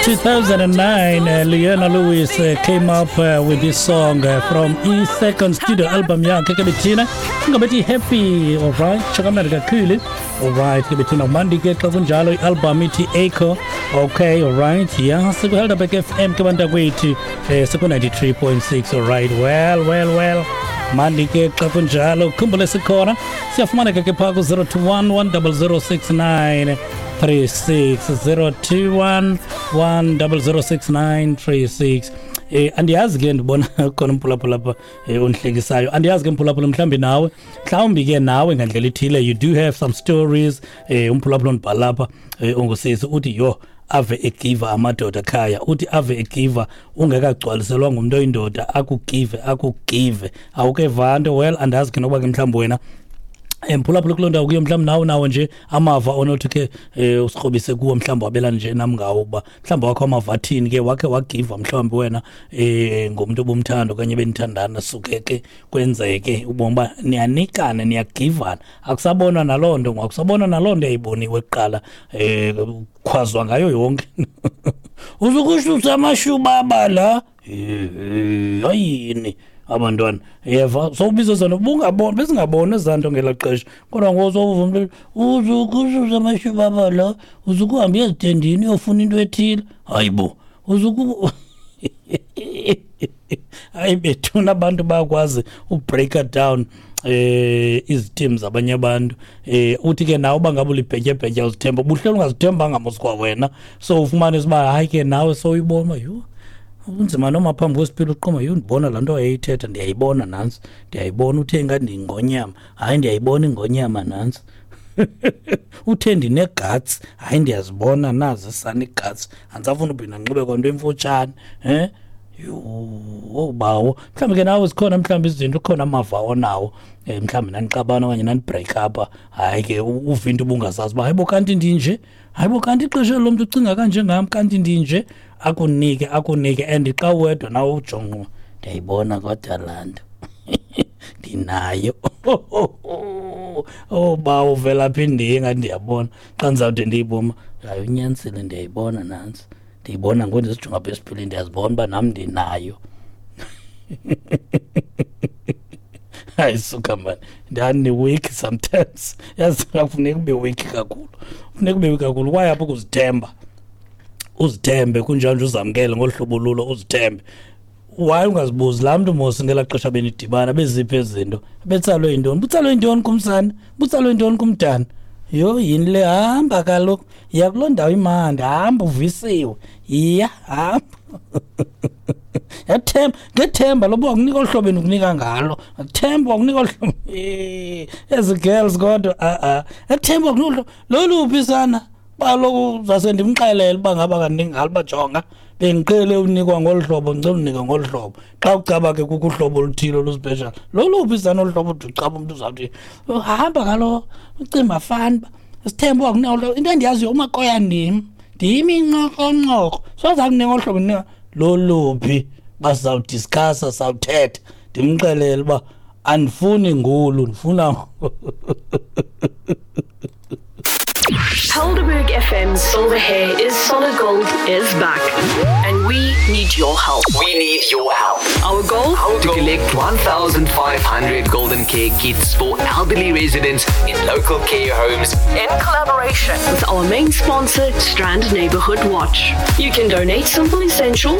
2009, Leona Lewis came up with this song from his second studio album yakhe ke bethina, ingabethi Happy. Alright, tsho kakhulu. Alright ke bethina, mandi ke xa kunjalo, i-album ithi Echo. Okay, alright, yeah, sikuHelderberg FM ke bantakwethu, siku-93.6. Alright, well, well, well, mandi ke xa kunjalo. Khumbule sikhona, siyafumaneka ke phaa ku-021 10069 36, 021 1006936. Andiyazi ke, ndibona khona umphulaphula apha ondihlekisayo. Andiyazi ke mphulaphula, mhlawumbi nawe, mhlawumbi ke nawe ngandlela ithile you do have some stories. Umphulaphula ondibhala apha, ungusisi, uthi yho, ave egiva amadoda khaya. Uthi ave egiva ungekagcwaliselwa ngumntu oyindoda, akugive, akugive, awukeva nto. Well, andazi ke nokuba ke mhlawumbi wena, mphulaphula, kuloo ndawo kuyo, mhlawumbi nawe nawo nje amava onothi ke usikrobise kuwo, mhlawumbi wabelane nje nam ngawo, uba mhlawumbi wakho amava athini ke, wakhe wagiva mhlawumbi wena ngumntu obumthanda okanye benithandana, suke ke kwenzeke ubona uba niyanikana, niyagivana, akusabonwa naloo nto, akusabonwa naloo nto yayiboniwe kuqala, khwazwa ngayo yonke, uzukususa amashubaba la. Hayini abantwana, yeva sowubiza zona, bungaboni, besingaboni ezaa nto ngelaa xesha, kodwa ngoku sowuva umntu uzukususa amashubaba la, uzukuhamba ezitendini uyofuna into ethile, hayi bo, uzuku, hayi bethuna, abantu bayakwazi ubreaka down iziteam zabanye abantu. Uthi ke nawe uba ngabe ulibhetyebhetye, uzithemba, buhleli ungazithembanga mos kwa wena, so ufumanise uba hayi ke nawe sowuyibona, yho, unzima noma phambi kwesipili uqoma, yho, ndibona laa nto wayeyithetha, ndiyayibona nantsi, ndiyayibona, uthe ngathi ndiyingonyama, hayi ndiyayibona ingonyama nantsi, uthe ndine-guts, hayi ndiyazibona nazi sana ii-guts, andisafuna uphinda ndinxibe kwanto emfutshane. Yho bawo, mhlawumbi ke nawe zikhona mhlawumbi izinto, kukhona amava onawo, mhlawumbi nanixabana okanye nani-break up, hayi ke uva into ubungazazi uba hayibo kanti ndinje, hayibo kanti ixesha lo mntu ucinga kanje ngam, kanti ndinje, akunike, akunike, and xa uwedwa nawe ujonga, ndiyayibona kodwa laa nto ndinayo. Oh bawo, uvela phi, ndiye ngathi ndiyabona xa ndizawude ndiyiboma, hayi unyanisile, ndiyayibona nantsi, ndiyibona ngoku ndizijonga apha esipilini, ndiyazibona uba nam ndinayo. Hayi suka mani, ndani-weak sometimes, yazi akufuneka ube weak kakhulu, funeka ube weak kakhulu kwaye apho ukuzithemba, uzithembe kunjalo nje, uzamkele ngolu hlobo lulo, uzithembe. Why ungazibuzi laa mntu mos ngelaa xesha benidibana beziphi ezi zinto, betsalwe yintoni, butsalwe yintoni kumsana, butsalwe yintoni kumdana? Yho, yini le? Hamba kaloku, yiya kuloo ndawo imandi, hamba uvisiwe, yiya, hamba. Yathemba ngethemba loba wakunika olu hlobo endikunika ngalo, themba wakunika olu hlobo. Ezi girls kodwa, a-a, ethemba wakunika olu hlobo loluphi sana, kaloku zase ndimxelele uba ngaba kandingalo uba jonga, bendiqhele unikwa ngolu hlobo, ndicela unika ngolu hlobo. Xa ucaba ke kukho uhlobo oluthile oluspecial, loluphi sana olu hlobo ude ucaba umntu uzawuthi hamba kaloku, ucimba fani uba sithembe wakunika olu hlobo. Into endiyaziyo umakoya ndim, ndim inqokonqoko, soze akunika olu hlobo ndinika loluphi, uba sizawudiscussa, sawuthetha, ndimxelele uba andifuni ngolu, ndifuna. Helderberg FM Silver Hair is Solid Gold is back. And we need your help. We need your help. Our goal? To collect 1,500 golden care kits for elderly residents in local care homes in collaboration with our main sponsor, Strand Neighborhood Watch. You can donate simple essentials